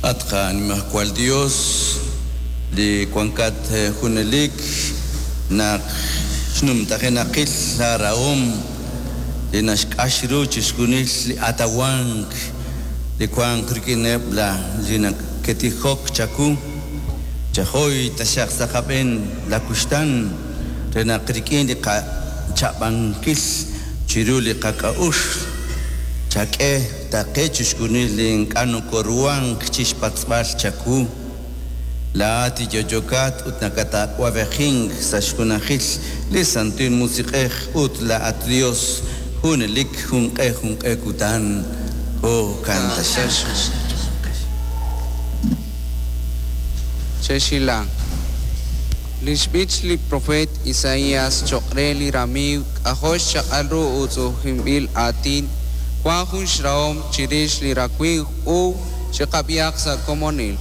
At qanimajwal Dios, li wankat junelik naq xnumtajenaqil laarahom li naxk'ax ru chixjunil li atawank li wank rik'ineb' la li naketijok chawu. Chahoy taxaq sa' qab'een la kuxtan re naq rik'in li qacha'b'ankil chiru li qak'a'uxl chak'e taqe chixjunil li ink'a' nokoruhank chixpatz'b'al chawu. Laa'at yo'yokat ut nakatawab'ejink sa' xjunajil li Santil Musiq'ej ut laa'at Dios junelik junq'e junq'e kutan. Jo'kan taxaq. Chexilanq. Lix b'ich li profeet Isaías choq' re li ramiiw k'ajo' xchaq'al ru uutz'u'ujinb'il aatin wan jun xrahom chirix li rawimq uub' chiqab'ihaq sa' komonil.